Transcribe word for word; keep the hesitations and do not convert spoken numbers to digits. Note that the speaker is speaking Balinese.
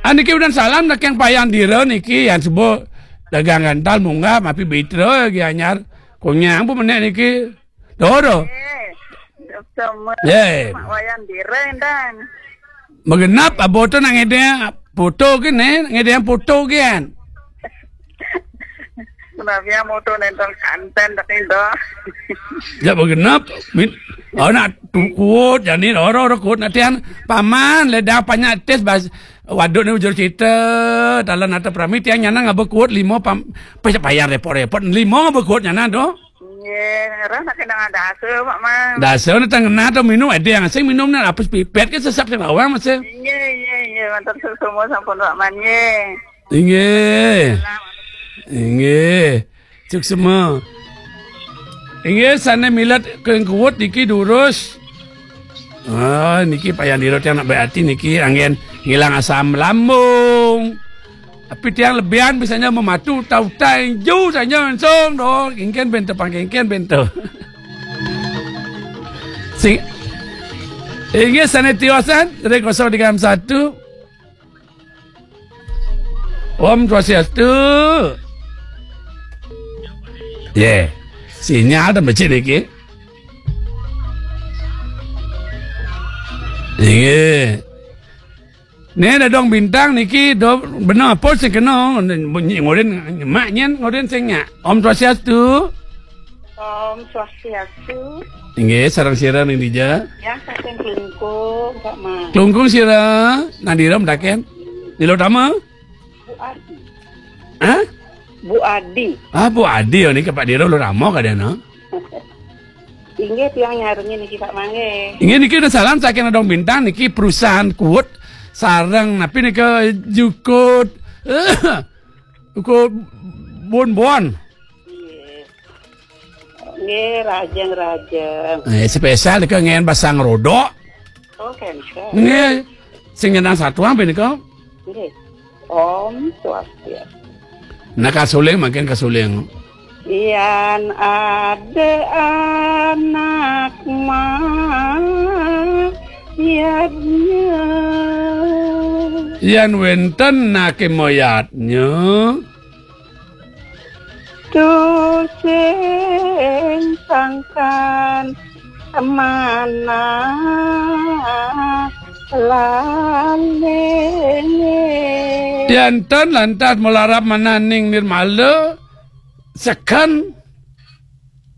Ah, niki udan salam saking Payan Dira niki, yan suba dagang gantal munggah mapi bitra gi anyar. Konyang bu menek niki. Doro. Eh, sama. Eh. Mak Wayan Dira, Endang. Magenep, abo tu nak ngedeng foto ke, ne? Ngedeng foto ke, kan? Kenapa ya moto nentang kanten tak itu? Ya, magenep. Min, oh, nak tu kuat, jani ora, ora kuat nak tian. Paman, ledang panyak tes bas. Waduk ni ujur cerita, dalam nata prami tiang nyana ngaba kuat lima pam, payah repot-repot. Lima ngaba kuat nyana tu. Nggih, ngerah nak kena ada asa, Pak Man. Dasa ni tang ngena tu minum, ada yang asing minum ni, apa pipet ke sesap sing bawang masih. Nggih, nggih, nggih, mantan semua sampun, Pak Man, nggih. Inggih. Inggih. Suksma. Inggih, sane milet kengkuwut niki durus. Ah, niki Payan Dira tiang nak baik ati niki anggen ngilang asam lambung. Tapi tiang lebihan bisanya mematu tau tai ju saja langsung doh. Kengken bento pangkengken bento. Sing, inggih sane tiosan dari kosong tiga enam satu. Om Swastiastu. Ye. Sinyal dah becik niki. Inggih. Ni dadong bintang niki do benar apa sing kena bunyi ngorin mak nyen ngorin sing nyak. Om Swastiastu. Om Swastiastu. Inggih, sareng sira ning dija? Ya, saking Klungkung, Pak Man. Klungkung sira, nadira mendaken? Di Lotama? Bu Adi. Hah? Bu Adi. Ah, Bu Adi, oh, niki Pak Dira Lotama kadana. Inggih, tiang nyarengin niki, Pak Man, nggih. Inggih, niki udah salam saking Dadong Bintang, niki perusahaan kuwut sareng napi nika jukut. Jukut bon-bon. Nggih. Nggih, rajeng-rajeng. Eh, spesial nika ngen basang rodok. Oh, cancel. Nggih. Sing nyenang satuang nika. Nggih. Om Swastiastu. Nah, kasuling makin kasuling. Yan ada anak mayatnya. Yan wenten nake mayatnya. Tusing sangkan manah lalene. Dianten lantas malarap mananing nirmala, seken